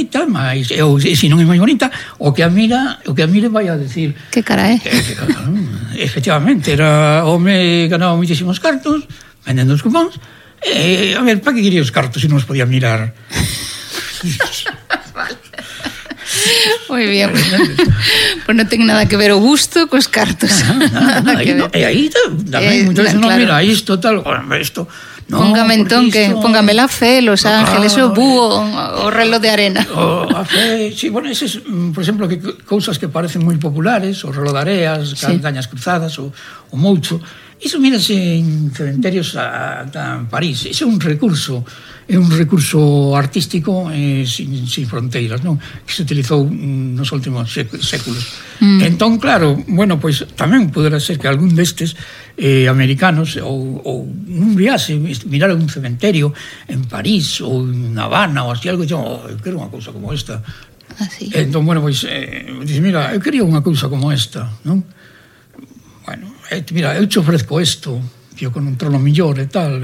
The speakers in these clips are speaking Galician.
bonita, mas se non é máis bonita, o que a mire vai a decir que cara é. Efectivamente, era home ganaba moitísimos cartos vendendo os cupóns. A ver, para que quería os cartos se non os podía mirar? Moi bien. Pois non ten nada que ver o gusto cos cartos. E aí tamén moitas veces non mira isto, tal, isto. Póngame entón que póngame la fe, Los Ángeles, o búho, o reloj de arena. A fe, sí, bueno, eses, por exemplo, que cousas que parecen moi populares, o reloj de areas, cañas cruzadas, o moucho, iso mírase en cementerios en París. Iso é un recurso artístico sin fronteiras, non? Que se utilizou nos últimos séculos. Entón, claro, bueno, pois tamén poderá ser que algún destes americanos ou nun viaxe mirar un cementerio en París ou en Habana ou así algo, eu quero unha cousa como esta. Entón, bueno, pois dice, mira, eu quería unha cousa como esta, non? Bueno, mira, eu te ofrezco isto, yo con un trono millor e tal,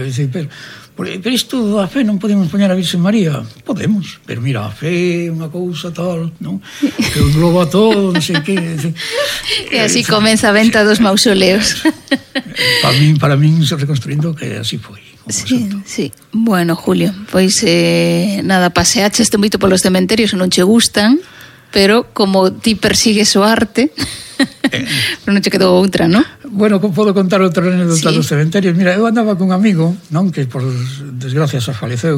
pero isto a fe non podemos poñer a Virgen María. Podemos, pero mira, a fe é unha cousa tal, non? Que engloba todo, non sei que. E así comeza a venta dos mausoleos. Para min se reconstruindo que así foi. Sí. Bueno, Julio, pois nada, paseaches moito polos cementerios que non che gustan, pero como ti persigues o arte, pero non che quedou outra, non? Bueno, podo contar outra anécdota dos cementerios. Mira, eu andaba con un amigo, non, que por desgracia xa faleceu,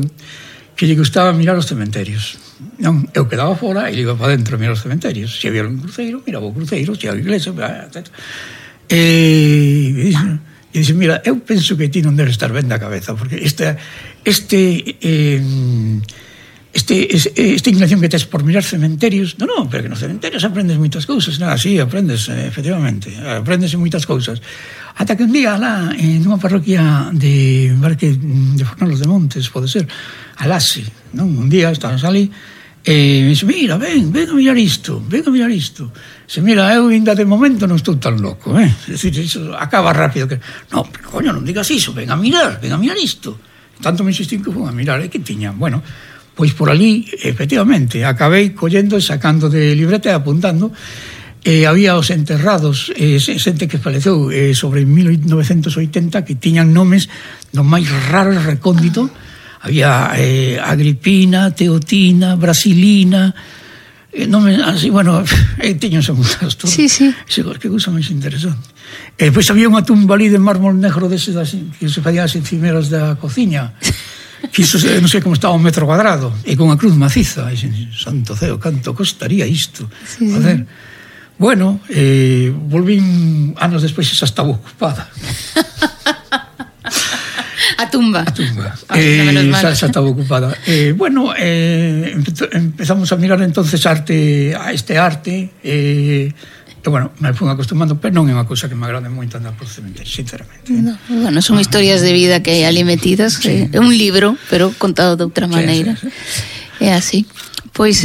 que lle gustaba mirar os cementerios, non? Eu quedaba fora e iba para dentro a mirar os cementerios. Se había un cruceiro, miraba o cruceiro, se había a iglesia, etc. E dice, mira, eu penso que ti non debes estar ben da cabeza, porque esta inclinación que tes por mirar cementerios, non, pero que nos cementerios aprendes moitas cousas, así aprendes, efectivamente, aprendes moitas cousas, ata que un día lá, nunha parroquia de Fornalos de Montes, pode ser, alase, non? Un día estabas ali, e me dice, mira, ven a mirar isto, se mira, eu ainda de momento non estou tan loco, é dicir, iso acaba rápido, que non, pero coño, non digas iso, ven a mirar isto, tanto me insistín que fun a mirar, que tiña, bueno, pois por ali, efectivamente, acabei collendo e sacando de libreta e apuntando. Había os enterrados, xente que faleceu sobre 1980, que tiñan nomes do máis raro e recóndito. Había Agripina, Teotina, Brasilina, nomes así, bueno, tiñanse muitas todas. Sí. Que cousa máis interesante. Pois había unha tumba ali de mármol negro deses que se facían as encimeras da cociña, que iso non sei como estaba un metro cuadrado, e con a cruz maciza. Santo ceo, canto costaría isto? A ver, bueno, volvín anos despois e xa estaba ocupada. A tumba. Xa estaba ocupada. Bueno, empezamos a mirar entonces este arte, bueno, me fui acostumando, pero non é unha cousa que me agrade moito andar por cementerio, sinceramente. Bueno, son historias de vida que hai ali metidas, é un libro, pero contado de outra maneira. É así. Pois,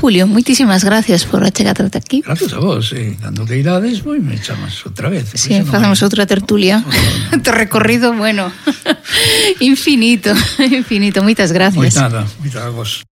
Julio, moitísimas gracias por achegar ata aquí. Gracias a vos, cando que irades, me chamas outra vez. Sí, facemos outra tertulia. Te recorrido, bueno, infinito. Moitas gracias. Moitas a vos.